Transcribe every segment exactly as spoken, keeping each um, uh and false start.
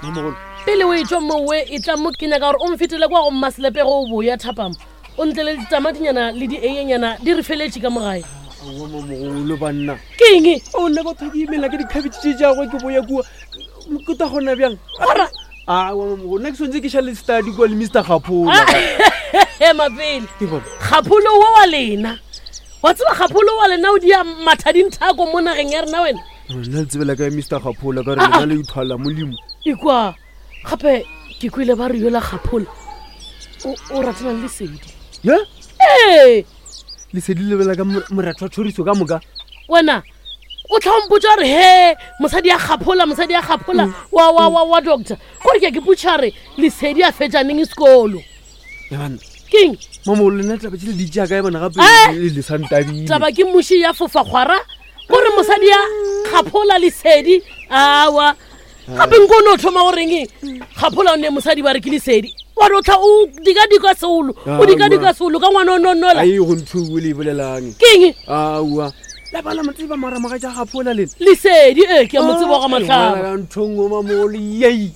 Mamogolo. Pele o etšwa mowe e tla mo ke nyaka gore o mfetele kwa go mmaselepe go o boya thapama. O ntle le ditamatinyana le dieyenyana di re feletše ka mo gae. Aowa mamogolo banna. Ke eng? O nna batho ke imela ke dikhabetše tše tšagwe ke boya kua. Ke ta kgona bjang? Gora. Aowa mamogolo, nna ke swanetše ke šale study kua le Mister Kgaphola. Mapele. Ke bona. Kgapholo wo wa lena. Wa tseba kgapholo wa lena o dia mathadinthako mo nageng ya rena wena? Nna le tsebela kae Mister Kgaphola ka re lena le ithwala molimo. Ikwa gape ke kwele ba re yola Kgaphola o, o ratana le Lesedi. Ye? Ee. Lesedi le bela ka mo-, moratho wa tšhoriso ka moka. Wena o tla mpotša gore he mosadi ya Kgaphola, mosadi ya Kgaphola Mm. wa, wa, wa, wa doctor. Gore ke a ke potša re Lesedi a fetša neng sekolo. Ya banna. Keng? Mamogolo, lena taba tše le di tšea kae bona gape Eh! le le sa ntabile? Taba ke muši ya fofa kgwara gore mosadi ya Kgaphola Lesedi awa. Gape nko o no thoma go reng? Kgaphola o ne mosadi ba re ke Lesedi. Wa re o tla o dika-dika seolo, o dika-dika seolo ka ngwana o nonola. Ai, go ntho e le e bolelang. Keng? Aowa. La bana mo tseba mara mogatša Kgaphola lena. Lesedi, ee, ke a mo tseba wa ga Ah, Mahlaba. ngwana ka ntho nngwe mamogolo, yei.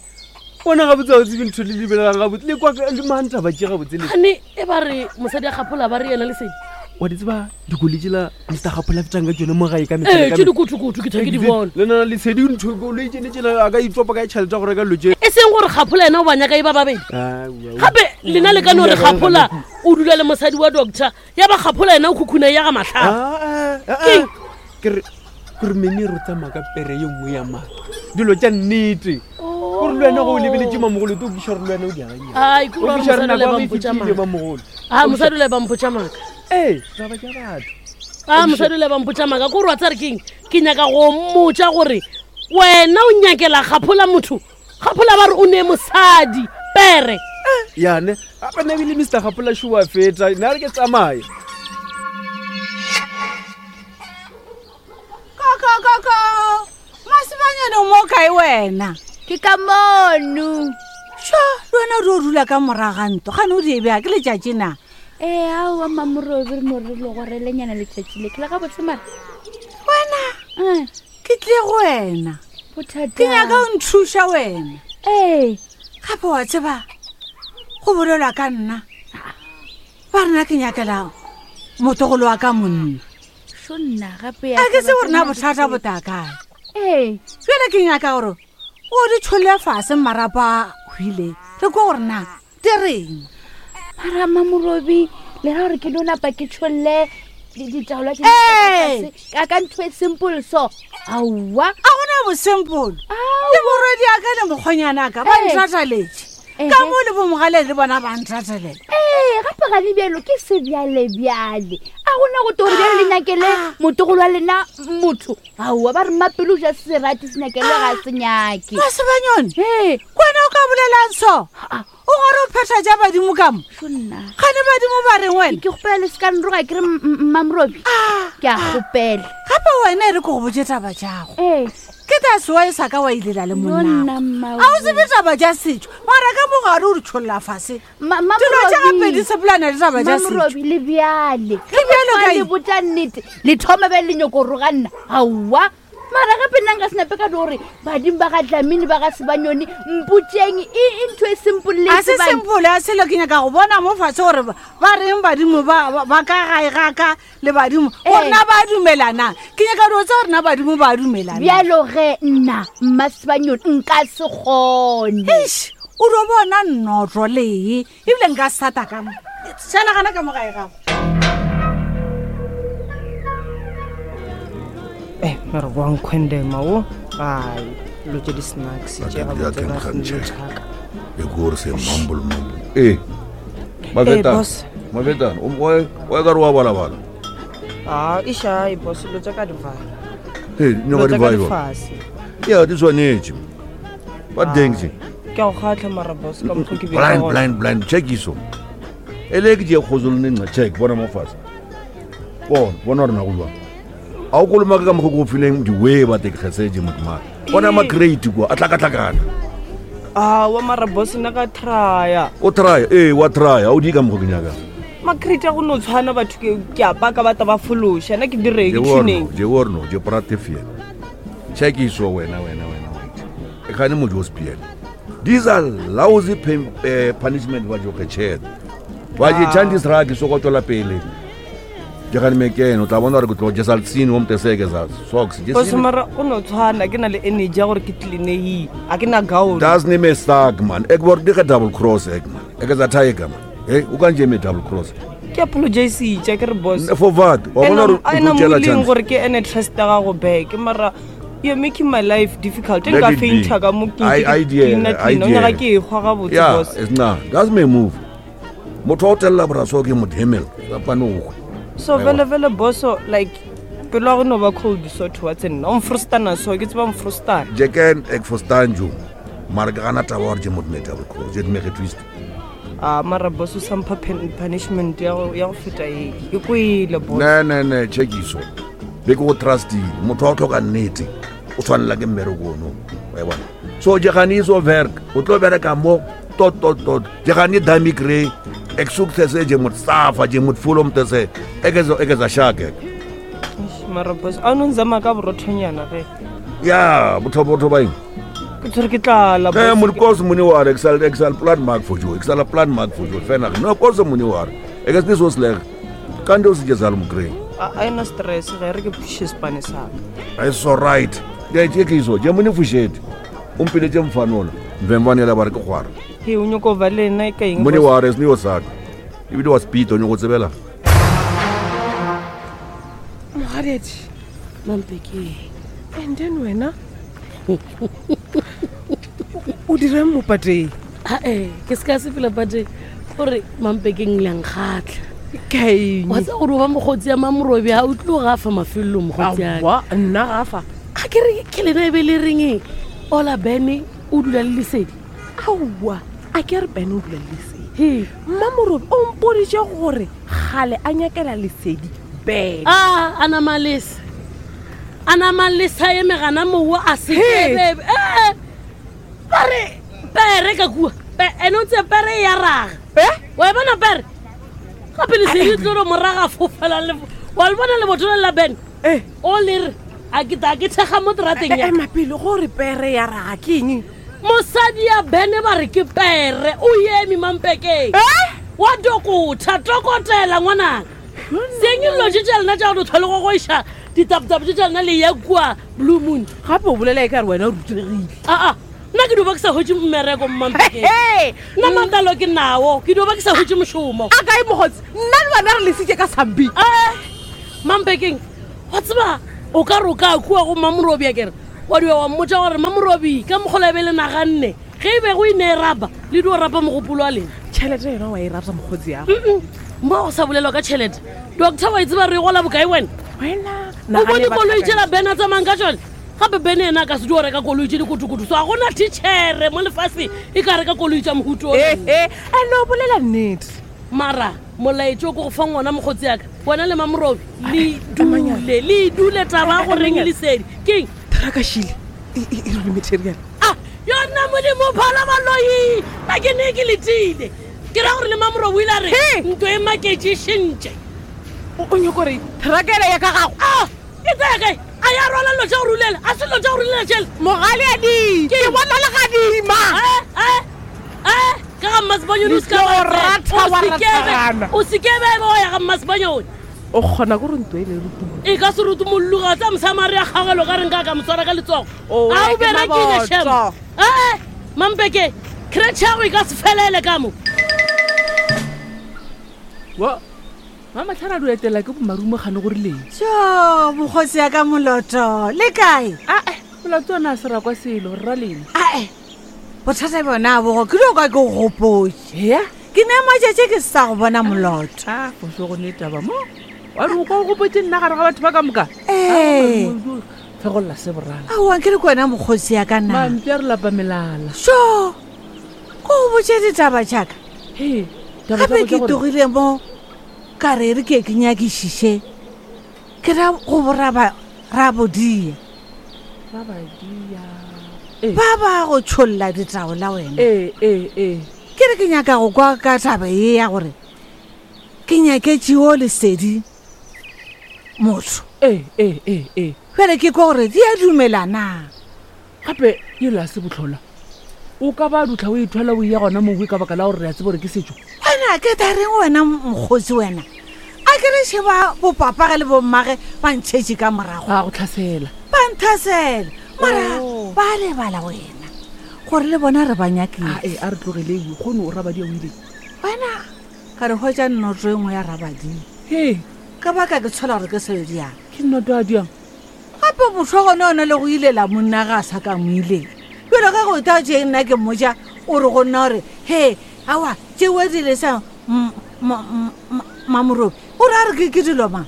Bona gabotse ga o tsebe ntho le lebelelang gabotse. Le kwa ka-, le mang taba tše gabotse le? Gane e ba re mosadi ya Kgaphola ba re yena Lesedi. Wa di tseba dikoloi tšela Mister Kgaphola a fetang ka tšone mo gae ka mehla Ee, le ka tše mehla. dikutukutu ke tha ke di Ee, bona. le nna Lesedi ntho koloi tšene tšela a ka itopa ka tšhelete ya go reka dilo tše. E seng gore Kgaphola yena o ba nyaka e ba babedi. Aowa, aowa. Gape lena le ka no re Aowa, Kgaphola aowa. o dula le mosadi wa doctor, ya ba Kgaphola yena o khukhuna ya ga Mahlaba. Ah, ah, ah, Keng? ah. Ke re, ke re mene re tsamaya ka pere ye nngwe ya maaka. Dilo tša nnete. Gore le wena go o lebeletše mamogolo, o tlo kwešiša gore le wena o di akanya. Ai, ke O gore kwešiša mosadi gore o le nako ya ba go e mpotša fetile, maaka. mamogolo. Ah, mosadi o le ba mpotša maaka. Ee, taba tša batho. Ah, mosadi o le ba mpotša maaka. Ke gore wa tseba re keng? Ke nyaka go mmotša gore wena o nyakela Kgaphola motho. Kgaphola ba re o ne mosadi, pere. Eh, yane, gape nna ebile Mister Kgaphola šo wa feta, nna re ke tsamaye. Ko, ko, ko, ko. Masibanyane o mo kae wena? Ke ka mono. Sho, le wena o di o dula ka morago ga ntlo, gane o di e bea ke letšatši na? Ee, aowa, Mamorobi, re no re le go relenyana letšatši le. Ke le gabotse mara? Wena? Eh. Ke tlile go wena. Bothata. Ke nyaka o nthuša wena. Ee. Gape wa tseba, go bolelwa ka nna. Ba rena ke nyakela motlogolo wa ka monna. Sho nna, gape ya A ke taba se gore na tsena bothata di bo tla kae. Ee. Bjale ke nyaka gore o di tšholle fase marapo a hwile. Re kwa gore na di reng? Mara Mamorobi, le ra gore ke no napa ke tšholle di-, ditaola tše di Ee. fase ka, ka ntho e simple so. Aowa. A gona bo simple. Aowa. Le morwedi a ka le mokgonyana ka ba Ee. ntrataletše. Ehe. Ka mo le bo mogale le bona ba ntratalela. Ee, gape ga le bjalo ke sebjalebjale. A gona go tore bjale le nyakele Ah. motlogolo wa lena motho. Aowa, ba re mmapelo o ja serati se nyakele ga se nyake. Masibanyone, Ee. kwena o ka bolelang so? Ah. O gore o phetha tša badimo ka mo? Sho nna. Gane badimo ba reng wena? Ke kgopela le se ka nroga ke re m-, m-, Mmamorobi. Ah. Ke a kgopela. Gape wena e re ke go botše taba tšago. Ee. Ke ta sewa e sa ka wa ilela le No monna. nna, mma A o tsebe taba tša setšo, mara ka mogare o di tšholla fase. Ma-, ma Dilo tša Morobi. gape di sepelana le taba tša setšo. Mamorobi, le bjale. Le bjale Ge kae? le botša nnete, le thoma bjale le nyako roga nna. Aowa. Mara gape nna nka se nape ka no gore badimo ba ga Dlamini ba ga Sebanyoni, mpotšeng e, e ntho e simple le A se tsebang. simple, a selo ke nyaka go bona mo fatshe gore ba, ba reng badimo ba, ba, ba ka gae ga ka le badimo. Ee. Gore na ba dumelana. Ke nyaka dilo tsa gore na badimo ba dumelana. Bjalo ge nna, mma Sebanyoni, nka se kgone. Eish, o do bona nnotlo lee, ebile nka sata ka mo. Šala gana ka mo gae gago. Eh, mara wa nkhwendema wo. Ai, dilo tše di-snacks tše Ba gabotse ke ba nkgang dilo tjhe. tša ka. E ke gore se mumble mumble. Eh, Mafetana, Eh, boss. Mafetana, o o o ka re wa balabala. Ah, e šae, boss, dilo tša ka di fase. Eh, Dilo nyoka di tša ka di vibe. fase. Ya, di tshwanetse. Ba deng tse. Ke a go kgatlha mara, boss, ka mokgwa ke bile Blind, gona. blind, blind, check iso. E le ke tše kgotso le nna, check, bona mo fatshe. Bona, bona gore na go jwang. A o kolomake ka mokgwa ke o fileng di-way ba te ke kgesetse motho mare. Bona Ee. ma-crate kwa, a tlakatlakana. Ah, wa mara, boss, nna ka try-a. O try-a, ee, wa try-a, ha o di ka mokgwa ke nyakang. Ma-crate a go no tshwana batho ke, ke a paka ba ta ba fološa, nna ke direng, Je ke worno, tšhuneng. je worno, je prate fiela. Check iso wena, wena, wena, wena. E gane mojo o spiele. These are lousy pay, uh, punishment ba jo kgetšhete. Ba je chandis ra ke so go tswela pele. Ke gane mekene o tla bona gore ke tlo jesa letsini o mteseke za socks. Boss mara o no tshwana ke na le energy ya gore ke cleanei a ke na gown. Das ne me stuck man. Ek word di double cross ek man. Ek za tiger man. Hey, o kan je me double cross. Ke apologize tša ke re boss. For what? Wa bona gore a o na tlo tšela mo chance. gore ke ene trust ya gago back mara you're making my life difficult. Let Nka it be. fainta ka mo ke I- ke I dare, clean I clean o nyaka dare. ke e hwa gabotse Yeah, boss. it's na. That's my move. Motho wa o tella boraso ke modemel. Ka pane o. So vele vele boss like pelo ya go no ba cold so towards nna o mfrustana so ke tseba mfrustana. Jeken ek verstaan jou. Maar ek gaan net waar jy moet met double cross. Jy het my getwist. A mara boss o sa mpha pen- punishment ya go ya go feta e. Ke kwele boss. Ne ne ne chekiso. Be ke go trustile. Motho wa o tlhoka nnete. O tshwanela ke mmereko ono. Wa e bona. So jy gaan nie so werk. O tlo bereka mo tot tot tot. Jy gaan nie dummy kry. Ek soek te sê jy moet safa, jy moet voel om te sê ek is ek is 'n shark ek. Eish, Mara boss a no nzama ka borothonyana ge. Ja, botho botho ba eng? Ke tshwere ke tlala Eh, boss. moet kos moenie worry, ek sal ek sal plan maak vir jou. Ek sal 'n plan maak vir jou. Fena. No kos moenie worry. Ek is nie so sleg. Kan jy se sal mo kry. A a ena stress ge re ke pushe spane sa ka. It's all right. Ke ke ke iso, je moenie fushete. O mpiletse mfanola. Mvemvanela ba re ke gwara. He o nyoko ba le nna e ka eng Moenie boss? worry, is nie osaka. Ebile wa speed o nyoko tsebela. Mogadedi mampekeng and then wena o dirang mo pateng ae ke se ka se fela pate gore mampekeng leankgatlha kaeng wa tsa gore o ba mokgotsi ya mamorobi ga o tlo gafa mafelelong mokgotsi yaka Aowa, nna gafa ga ke re ke lena e be le reng ola bene o dula le lesedi aowa a ke re bene o dula le lesedi he mmamorobi o mpoditše gore gale a nyakela lesedi bene a a namalesa a namalesa eme gana mowa a He. sekebebe ee ba re pere ka kua Pe- ene o tse pere e ya raga Eh? wa e bona pere gape lesedi tlo re moraga fofela le wa le bona lebotolo la bene Eh. o le re a ke ta ke thekga mo terateng ya ema pele gore pere ya raga ke eng mosadi ya bene ba re ke pere o eme mampekeng Eh? wa dokotha tokotela ngwanaka seng dilo tše tša lena tša go tlhole go goiša ditapetapo tše tša lena le ya kua blue moon gape o bolela e ka re wena o rutegile aa nna ke dio ba ke sa hwetše mmereko mmampekeng He, nna matalo ke nao ke dio ba ke sa hwetše mošomo a kae mokgotsi nna le wena re lesitše ka sambi ee mampekeng wa tseba o ka re o ka kua go mamorobi a kere wa dio wa mmotsa gore mamorobi ka mokgola e be le naganne ge e be go e ne e rapa le dio rapa mogopolo wa lena tšhelete yona wa e rata mokgotsi yago Mm-mm. mo go sa bolelwa ka tšhelete doctor wa e tseba re e gola bokae wena wena o bone koloi tsela bene a tsamayng ka tsone gape bene ena a ka se dio reka koloi tse dikotokoto so ga gona tichere mo lefatsheng e ka reka koloi tsa mohuto o ee ande o bolela nnete mara molaetso o ko go fa ngwana mokgotsi yaka wena le mamorobi le dule le dule taba ya goreng lesedi keng trakashile e rile material a yona modimo phala baloi a ke ne ke letile ke ra gore le mamorobi o ile a re He! ntlo e maketse šentše o o nyako gore trakele ya ka gago a e tsaya kae a ya rwala dilo tša go rulela a se dilo tša go rulela tšhele mogale a di ke bona le gadima Eh, ka ga mmasebanyone o Le tlo go ratha wa rathagana. o sekebe ebe wa ya ga mmasebanyone o kgona ko re ntlo e le rutumo e ka se rutumolluga tsa mosamare ya kgagelo ka reng ka ka moswara ka letsogo O, a o ke berekile maboto. shem ee mampeke cretšhe yago e ka se felele ka mo wa mamatlhana di etela ke bomarumo gane gore leng jo mokgotsi ya ka moloto le kae ae molato ona a se rakwa selo rra lena ae bothata bona bogo ke dio ka ke go gopotse ea ke ne matšatši ke se sa go bona moloto a foso go ne taba mo wa re o kwa o gopotse nna gare ga batho ba ka moka Ee. fegolla se borala aowa ke le ke wena mokgotsi ya ka na mampi a re lapa melala so ko go botse ditaba jaaka he taba tsa gape go ke tša gore- togile mo ka re re ke ke nyakišiše ke ra go boraba rabodia Rabadia. Ee. ba ba go tšholla ditaola wena ee ee ee ke re ke nyaka go kwa ka taba ye ya gore ke nyaketšeo lesedi motho ee ee ee ee bjale ke kwa gore di a dumela na gape ela se botlhola O ka ba dutlha o ithwala o iya gona mowe ka baka la gore re a tsebo gore ke setšo. Wena ke ta reng wena mokgotsi wena? A ke re sheba bopapage le bommage ba ntšhetše ka morago. Ba go tlhasela. Ba nthasela. Mara ba lebala wena gore le bona re ba nyakile. Ee, a re tlogele ewe kgone o rabadia o ile. Wena ka re hwetša nnoto e nngwe ya rabadia. He. Ka baka ke tshola gore ke selo diang. Ke nnoto a diang? Gape motho wa gone one le go ilela monna ga a sa ka mo ilela. Bjalo ka go ta tše nna ke mmotša o re go nna gore he aowa tšeo di le sa mamorobi o re a re ke dilo mang?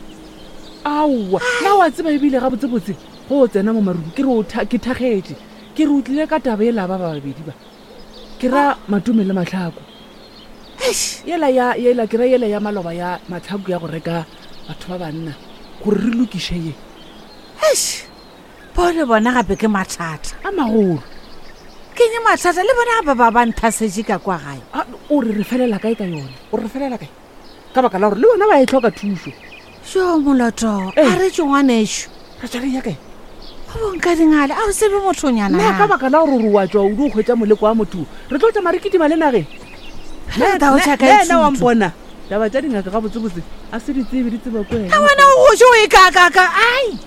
Aowa na wa tseba ebile gabotsebotse go o tsena mo marung ke re o ke thagetše ke re o tlile ka taba ela ba ba babedi ba ke ra Matome le Matlhako. Yela ya yela ke ra yela ya maloba ya Matlhako ya go reka batho ba banna gore re lokiše ye. Eish, bao le bona gape ke mathata a magolo. Ke nye mathata le bona gape ba ba nthasetše ka kwa gae. O re re felela kae ka yona? O re felela kae? Ka baka la gore le bona ba e tlhoka thušo. Jo moloto, a re tšo ngwanešo. Re tšwa re ya kae? Go bonka dingale, a o tsebe mothonyana. Na ka baka la gore re wa tšwa o di hwetša moleko wa motho, re tlo tšama re kitima le nageng. Nna wa mpona. Taba tša dingaka gabotsebotse a se di tsebe di tseba ko wena. A wena o gotše o e kakaka, ai.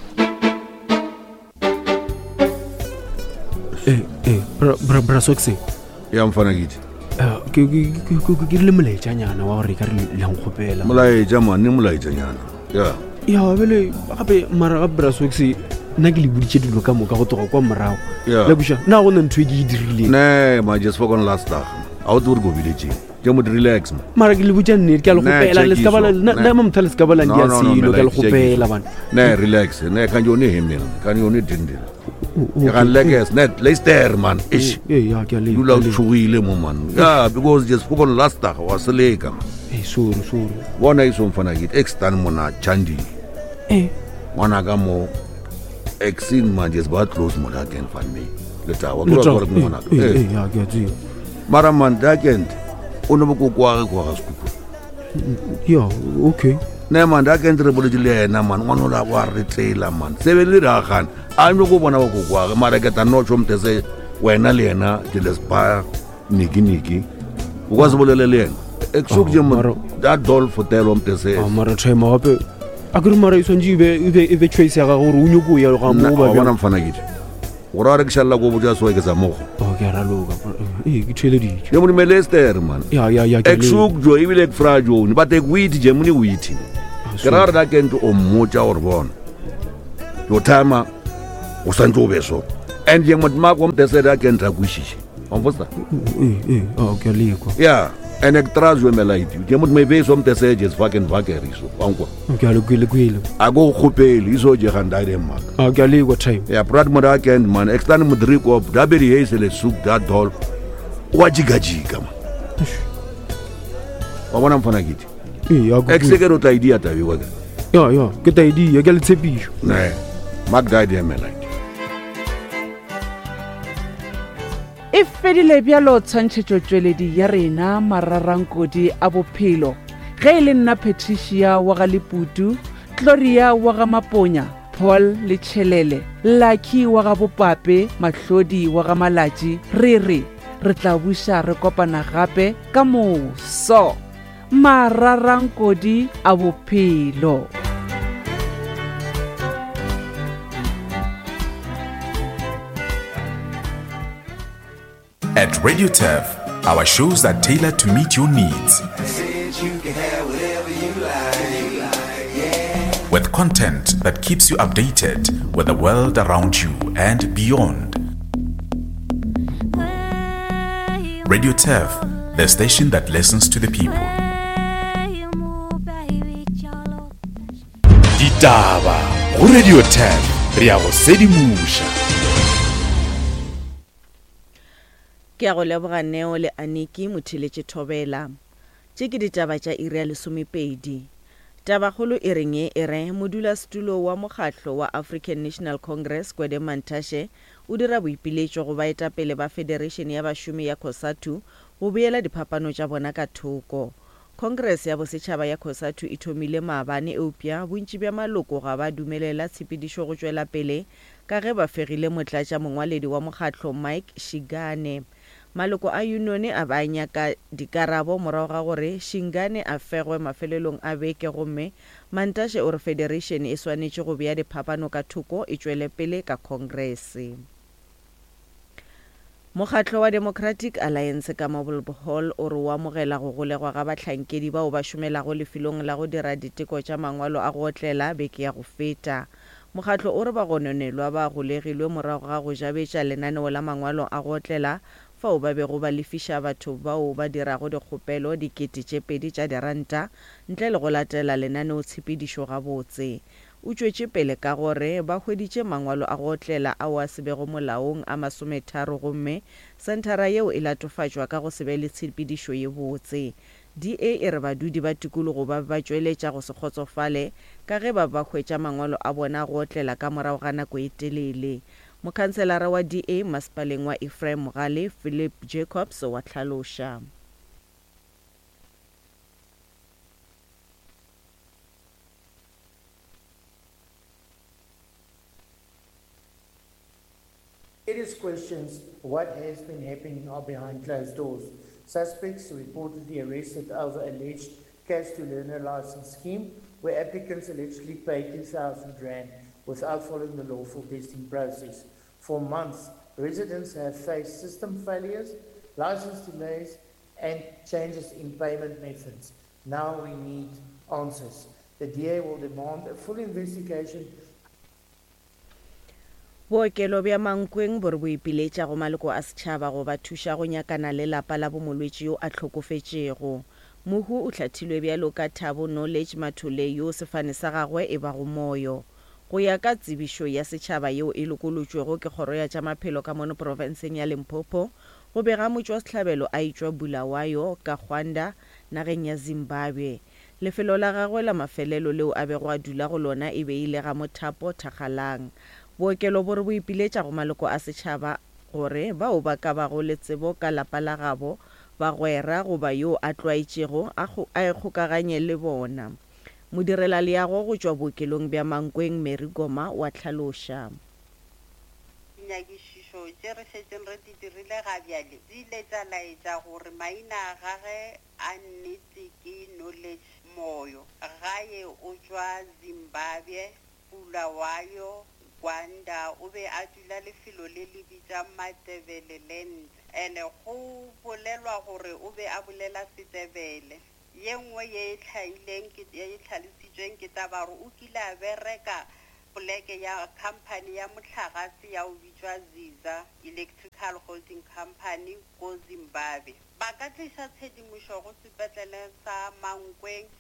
Eh, eh, bra bra bra Soxe. Ya mfana kiti. Ke ke ke ke rile molaetšanyana wa gore ka re le nkgopela. Molaetša man, ne molaetšanyana. Ya. Ya bele gape mara ga bra Soxe nna ke le boditše dilo ka moka go tloga kwa morago. Le buša na go na ntho e ke e dirileng. Ne, ma just for last dag. A o tsore go biletse. Ke mo relax man. Mara ke le botša nnete ke a le gopela le ska bala nna mo motho le ska bala ndi a selo ke a le gopela bana. Ne relax, ne kan yone hemel, kan yone dindil. Ke ga leges net Leicester man. Ish. Eh ya ke a le. Dula o tshogile mo man. Ya because just for last dag wa seleka man. Eh sorry sorry. Bona iso mfana ke extern mona Chandi. Eh ngwana ka mo exin man just ba close mo da ken fan me. Letawa ke gore ke ngwana. Eh ya ke a tseba. Mara man da kent o ne bo kwa go kwa ga sekupu. Ya okay. Ne man da kent re boletse le ena man ngwana la wa re tsela man. Sebe le ra gana. A no go bona go kwa mara ke ta no tšo se wena le ena ke le spa niki niki. O ka se bolele le ena. Exuk je mo da dol fotelo mtese. A mara time gape a ke re mara e swantse e be e be choice ya gago gore o nyoko ya ga mo ba bona mfana ke. Gore a re ke šalla go botša soe ke sa mogo. O ke ra loka. Eh ke theleditše. Ye mo Leicester man. Ya ya ya ke. Exuk jo ebile ke fra jo ni ba te wit je mo ni wit. Ke ra re da kento o mmotša gore bona. Yo timer o santse o be so. And ye mo ma go mtese da kenta kwishiše. Wa mfosta? Eh eh a ke lekwa. Yeah. And ek tras jo melaiti. Ke mo me be so mtese je fucking vakeri so. Wa nkwa. Ke a le kwele kwele. A go gopele iso je ganda ide mak. A ke a lekwa time. Yeah, brad mo da kent man. Extern modriko da be di heise le suk da dol. Wa jigajika man. Wa bona mfana kiti. Eh ya go. Ex ke ro tla idea tabe wa ka. Ya ya ke ta idea ke le tshepišo. Ne. Mak da ide melaiti. E fedile bjalo tshwantšhetšo tšweledi ya rena mararankodi a bophelo. Ge e le nna Patricia wa ga Leputu, Gloria wa ga Maponya, Paul le Tšhelele, Lucky wa ga Bopape, Mahlodi wa ga Malatši, re re re tla buša re kopana gape ka moso. Mararankodi a bophelo. At Radio Turf, our shows are tailored to meet your needs. With content that keeps you updated with the world around you and beyond. Radio Turf, the station that listens to the people. Ditaba go Radio Turf, re a go sedimoša. Ke a go leboga Neo le Aniki motheletše Thobela. Tše ke ditaba tša iri ya lesomepedi. Tabakgolo e reng e re modulasetulo wa mokgatlo wa African National Congress Gwede Mantashe o dira boipiletšo go baetapele ba Federation ya Bašomi ya COSATU go beela diphapano tša bona ka thoko. Congress ya bosetšhaba ya COSATU e thomile maabane eupša bontši bja maloko ga ba dumelela tshepedišo go tšwela pele ka ge ba fegile motlatša mongwaledi wa mokgatlo Mike Shigane. Maloko a yunione a be a nyaka dikarabo morago ga gore Shingane a fegwe mafelelong a beke gomme Mantashe o re federation e swanetše go bea diphapano ka thoko e tšwele pele ka khongrese. Mokgatlo wa Democratic Alliance ka Marble Hall o re o amogela go golegwa ga bahlankedi bao ba šomelago lefelong la go dira diteko tša mangwalo a go otlela beke ya go feta. Mokgatlo o re bagononelwa ba golegilwe morago ga go jabetša lenaneo la mangwalo a go otlela fao ba bego ba lefiša batho bao ba dirago dikgopelo dikete tše pedi tša diranta ntle le go latela lenaneotshepedišo gabotse. O tšwetše pele ka gore ba hweditše mangwalo a go otlela ao a se bego molaong a masometharo gomme senthara yeo e latofatšwa ka go se be le tshepedišo ye botse. D A e re badudi ba tikologo ba be ba tšweletša go se kgotsofale ka ge ba be ba hwetša mangwalo a bona a go otlela ka morago ga nako e telele. Mokhanselara wa D A masepaleng wa Ephraim Mogale, Philip Jacobs wa hlaloša. Serious questions what has been happening are behind closed doors. Suspects reportedly arrested over alleged cash to learner license scheme where applicants allegedly paid two thousand rand without following the lawful testing process. For months, residents have faced system failures, license delays, and changes in payment methods. Now we need answers. The D A will demand a full investigation. Bookelo bja Mankweng bo re bo ipiletša go maloko a setšhaba go ba thuša go nyakana le lapa la bomolwetši yo a hlokofetšego. Mohu o hlathilwe bjalo ka Thabo Knowledge Mathole yo sefane sa gagwe e bago moyo. Go ya ka tsebišo ya setšhaba yeo e lokolotšwego ke kgoro ya tša maphelo ka mono profenseng ya Limpopo, go bega motšwasehlabelo a etšwa Bulawayo ka Gwanda nageng ya Zimbabwe. Lefelo la gagwe la mafelelo leo a bego a dula go lona e be e le ga Mothapo Thakgalang. Bookelo bo re bo ipiletša go maloko a setšhaba gore bao ba ka bago le tsebo ka lapa la gabo, bagwera goba yo a tlwaetšego a ikgokaganye le bona. Modirelaleago go tšwa bookelong bja Mankweng Mary Goma wa hlaloša. Dinyakišišo tše re šetšeng re di dirile ga bjale di ile tša laetša gore maina a gagwe a nnete ke Knowledge Moyo. Gae o tšwa Zimbabwe, Bulawayo, Gwanda, o be a dula lefelo le le bitša Matebeleland. Ene go bolelwa gore o be a bolela Setebele. Ye nngwe ye e hlahileng ke, ye e hlalositšweng ke taba gore o kile a bereka poleke ya company ya mohlagase ya o bitšwa Ziza Electrical Holding Company ko Zimbabwe. Ba ka tliša tshedimošo go sepetlele sa Mankweng.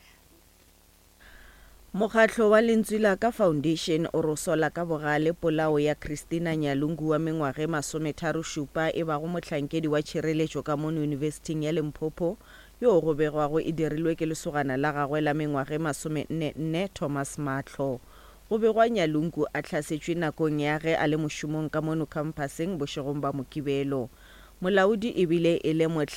Mokgatlo wa Lentswe la Ka Foundation o re o sola ka bogale polao ya Christina Nyalungu wa mengwaga e masometharo šupa e bago mohlankedi wa tšhireletšo ka mono Yunibesithing ya Limpopo yo go begwago e dirilwe ke lesogana la gagwe la mengwaga e masomenne nne Thomas Mahlo. Go begwa Nyalungu a hlasetšwe nakong ya ge a le mošomong ka mono khamphaseng bošegong ba Mokibelo. Molaodi ebile e le